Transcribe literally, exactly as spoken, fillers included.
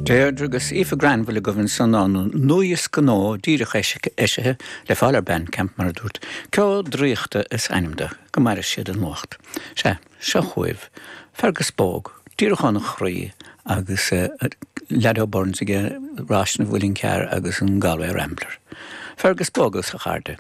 Deirdre agus Aoife Granville agaibh ansan óna nuadhiosca nua díreach eisithe le fáil ar Bandcamp mar a dúirt, Ceo Draíochta is ainm dó, go maire siad an nuacht. Sea, seo chugaibh, Fergus Bóg, díreach óna chroí agus uh, Leado Burns aige Ráis na bhFuilin Cear agus an Galway Rambler. Fergus Bóg agus a chairde.